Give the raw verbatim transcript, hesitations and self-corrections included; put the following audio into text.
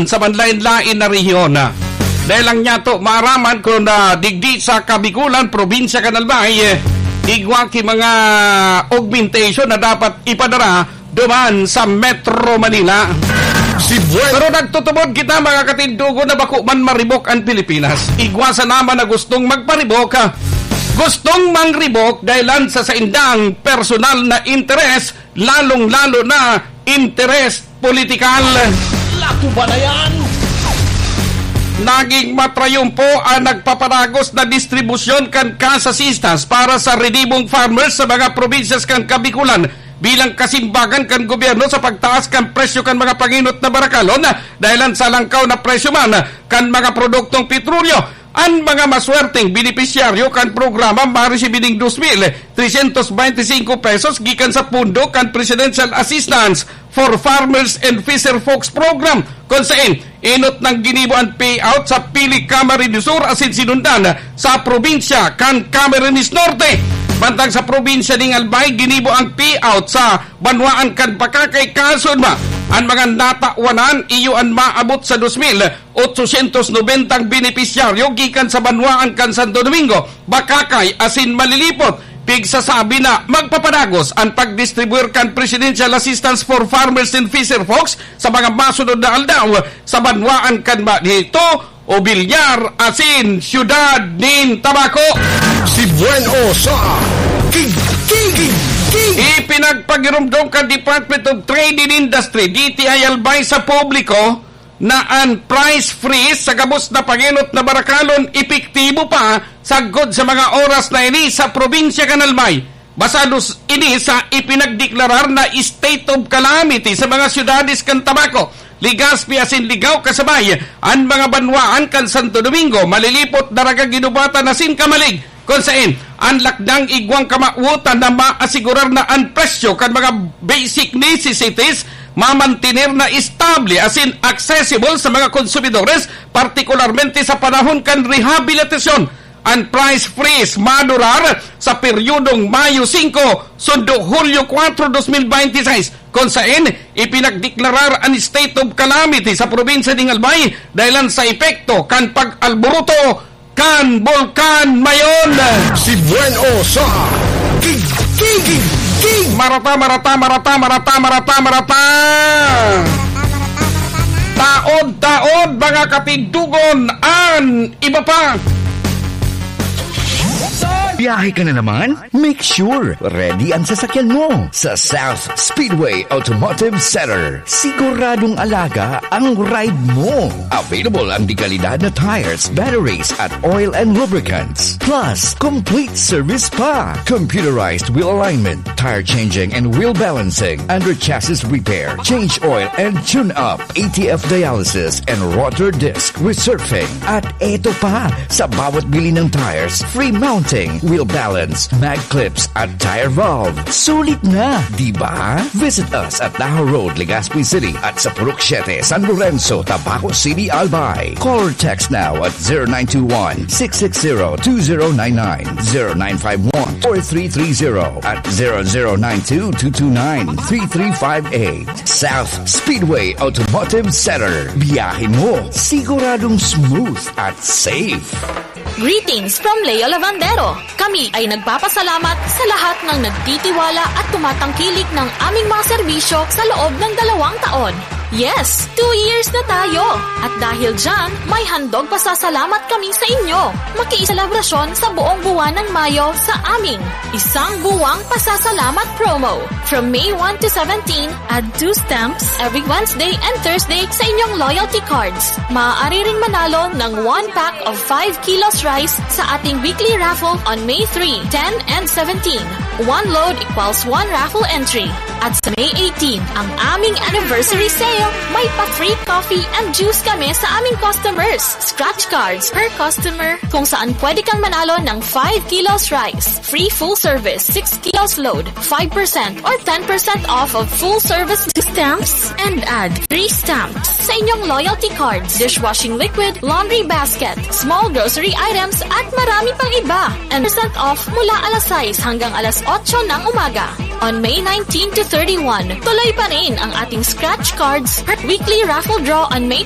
sa manlaen-laen na rehiyon. Dahil lang niya to maaraman kung, ah, digdi sa Kabikulan, probinsya kan Albay, eh, igwa ki mga augmentation na dapat ipadara duman sa Metro Manila. Si Buen- Pero nagtutubod kita, mga katindogon, na bako man maribok ang Pilipinas. Igwa sana man na gustong magparibok, ah, gustong mangribok dahil lang sa saindang personal na interes, lalong-lalo na interes politikal. Lato ba na yan? Naging matrayumpo ang nagpaparagos na distribusyon kan cash assistance para sa relibong farmers sa mga probinsyas kan Kabikulan bilang kasimbagan kan gobyerno sa pagtaas kan presyo kan mga panginot na barakalon dahil sa langkaw na presyo man kan mga produktong petrolyo. An mga maswerteng benepisyaryo kan programa maresibi nin dos mil trescientos veinticinco pesos gikan sa pondo kan Presidential Assistance for Farmers and Fisher Folks Program, kun saen enot nang ginibo an payout sa pili Camarines Sur asin sinundan sa probinsya kan Camarines Norte. Mantang sa probinsya nin Albay, ginibo ang payout sa banwaan kan Bacacay, kasunod pa an mga natawanan, iyo an maabot sa dos mil otsosyentos nobenta benepisyaryo gikan sa banwaan kan Santo Domingo, Bacacay asin Malilipot. Pigsasabi na magpapadagos an pagdistribuir kan Presidential Assistance for Farmers and Fisher Folks sa mga masunod na aldaw sa banwaan kan Manito, Obillar asin Siyudad nin Tabaco. Si Buen O sa King, King, King, King. Ipinagpagirumdom kan Department of Trade and Industry, D T I Albay, sa publiko na an price freeze sa gabos na pangenot na barakalon epektibo pa sagkod sa mga oras na ini sa probinsya kan Albay. Basados ini sa ipinagdeklarar na state of calamity sa mga syudades kan Tabaco, Legazpi asin Ligao, kasabay an mga banwaan kan Santo Domingo, Malilipot, Daraga, Guinobatan asin Camalig. Kun saen, an lakdang igwang kamawotan na maasigurar na an presyo kan mga basic necessities mamantener na estable asin accessible sa mga konsumidores, partikularmente sa panahon kan rehabilitasyon. An price freeze madurar sa peryodong Mayo singko sundo Hulyo kwatro, dos mil bente y seis, kun saen ipinagdeklarar an state of calamity sa probinsya nin Albay dahelan sa epekto kan pag-alboroto kan Bulkan Mayon. Si Buen O sa King, King, King, King. Marata, marata, marata, marata, marata, marata. Taod-taod, mga katindogon, an iba pa. Biyahe ka na naman? Make sure ready ang sasakyan mo sa South Speedway Automotive Center. Siguradong alaga ang ride mo. Available ang dekalidad na tires, batteries at oil and lubricants. Plus, complete service pa. Computerized wheel alignment, tire changing and wheel balancing, under chassis repair, change oil and tune up, A T F dialysis and rotor disc resurfacing. At eto pa, sa bawat bili ng tires, free mounting, wheel balance, mag clips at tire valve. Sulit na, di ba? Visit us at Tahaw Road, Legazpi City at sa Purok siete, San Lorenzo, Tabaco City, Albay. Call or text now at zero nine two one, six six zero, two zero nine nine, zero nine five one, four three three zero at zero zero nine two, two two nine, three three five eight. South Speedway Automotive Center. Biyahe mo, siguradong smooth at safe. Greetings from Leo Lavandero. Kami ay nagpapasalamat sa lahat ng nagtitiwala at tumatangkilik ng aming mga serbisyo sa loob ng dalawang taon. Yes, two years na tayo! At dahil dyan, may handog pasasalamat kami sa inyo. Makiiselebrasyon sa buong buwan ng Mayo sa aming Isang Buwang Pasasalamat Promo. From May one to seventeen, add two stamps every Wednesday and Thursday sa inyong loyalty cards. Maaari ring manalo ng one pack of five kilos rice sa ating weekly raffle on May three, ten, and seventeen. One load equals one raffle entry. At sa May eighteen, ang aming anniversary sale, may pa-free coffee and juice kami sa aming customers. Scratch cards per customer, kung saan pwede kang manalo ng five kilos rice, free full service, six kilos load, five percent or ten percent off of full service stamps, and add three stamps sa inyong loyalty cards, dishwashing liquid, laundry basket, small grocery items, at marami pang iba. And percent off mula alas sais hanggang alas otso ng umaga. On May nineteen to thirty-one, tuloy pa rin ang ating scratch cards per weekly raffle draw on May